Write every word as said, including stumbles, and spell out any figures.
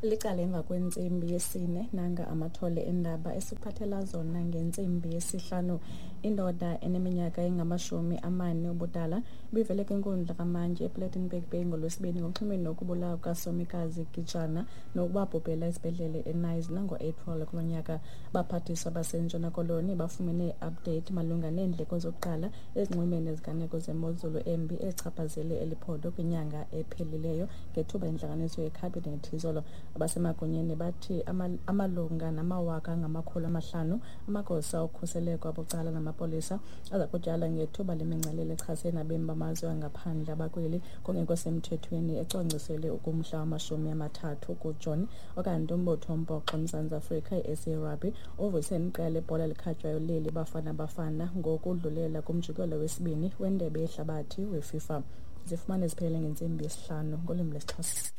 Licala emva kwentsimbi yesine, nanga amathole endaba esiphathela zona ngentsimbi yesihlanu. Indoda eneminyaka engamashumi amane ubudala ibivele kwinkundla kamantyi ePlettenberg Bay ngoLwesibini ngoxhumeni nokubulawa kukaSomikazi Gijana nokubabhubhela esibhedlele eKnysna ngo-April kulo nyaka. Abaphathiswa baseNtshona Koloni bafumene i-update malunga neendleko zokuqala ezinxulumene neziganeko zemozulu embi ezichaphazele eli phondo kwinyanga ephelileyo ngethuba intlanganiso yekhabhinethi izolo. Abasemagunyeni bathi amalunga namawaka angamakhulu amahlanu amagosa okhuseleko abucala namapolisa aza kutyala ngethuba lemingcelele echasene nabemi bamazwe angaphandle abakweli kungekho semthethweni ecwangciselwe ukumhla wamashumi amathathu kuJuni. Okanti umbutho wombhoxo eMzantsi Afrika, i-S A Rugby, uvuse iqela lebhola elikhatywayo leli Bafana Bafana ngokudlulela kumjikelo wesibini wendebe yehlabathi weFIFA. Zifumane ziphelele ngentsimbi yesihlanu ngolwimi lwesiXhosa.